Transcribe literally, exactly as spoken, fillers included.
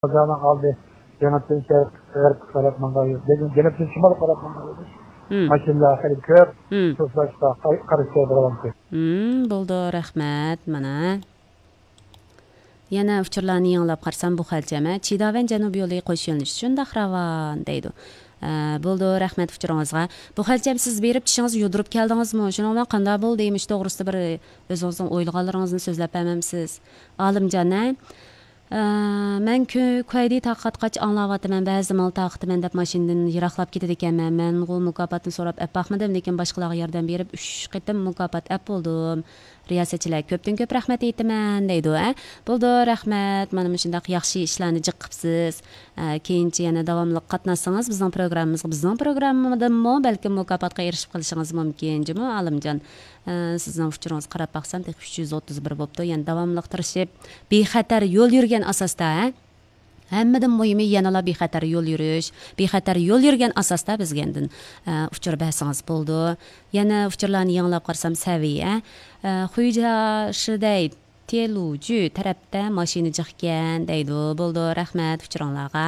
بازارنىڭ ئالدى جەنۇبتىن شەرق، غەربكە قاراپ ماڭغان يول. لېكىن جەنۇبتىن شىمالغا قاراپ ماڭغان يول. مم. ماشىنىلار خېلى كۆپ. مم. شۇ ساچتا قار-، قارشى بولغانتى. مم، بولدى، رەھمەت. مانا. يەنە ئۇچۇرلارنى يېڭىلاپ قارىسام، بۇ خەلچەم، ھە، چىداۋەن جەنۇب يولى قوش يۆنىلىش شۇنداق راۋان دەيدۇ. ئە، بولدى، رەھمەت ئۇچۇرىڭىزغا. بۇ خەلچەم، سىز بېرىپ چىشىڭىزنى يۇدۇرۇپ كەلدىڭىزمۇ؟ شۇنىڭ بىلەن قانداق بولدى؟ مۇشۇ توغرىسىدا بىر ئۆزىڭىزنىڭ ئويلىغانلىرىڭىزنى سۆزلەپ بەرمەمسىز؟ ئالىمجان، ھە؟ ئە، مەن كۈ-، كۇەيدى تارقاتقاچ ئاڭلاۋاتىمەن، بەزىدە مال تارقىتىمەن دەپ ماشىنىدىن يىراقلاپ كېتىدىكەنمەن. مەنغۇ مۇكاپاتنى سوراپ ئەپ باقمىدىم، لېكىن باشقىلارغا ياردەم بېرىپ، ئۈچ قېتىم مۇكاپات ئەپ بولدۇم. رىياسەتچىلەر، كۆپتىن كۆپ رەھمەت ئېيتىمەن، دەيدۇ، ھە؟ بولدى، رەھمەت. مانا مۇشۇنداق ياخشى ئىشلارنى جىق قىپسىز. ئە، كېيىنچە يەنە داۋاملىق قاتناشسىڭىز بىزنىڭ پروگراممىمىزغا، بىزنىڭ پروگراممىدىنمۇ بەلكىم مۇكاپاتقا ئېرىشىپ قېلىشىڭىز مۇمكىن، جۇمۇ ئالىمجان. ئە، سىزنىڭ ئۇچۇرىڭىزغا قاراپ باقسام، تېخى ئۈچ يۈز ئوتتۇز بىر بوپتۇ. يەنە داۋاملىق تىرىشىپ، بىخەتەر يول يۈرگەن ئاساستا، ھە؟ ھەممىدىن مۇھىمى يەنىلا بىخەتەر يول يۈرۈش. بىخەتەر يول يۈرگەن ئاساستا بىزگە ئاندىن، ئە، ئۇچۇر بەرسىڭىز بولىدۇ. يەنە ئۇچۇرلارنى يېڭىلاب قارىسام، سەۋىيە، ئە، خۇيجا شىدەي تيېلۇجۈ تەرەپتە ماشىنا جىقكەن دەيدۇ. بولىدۇ، رەھمەت ئۇچۇرۇڭلارغا.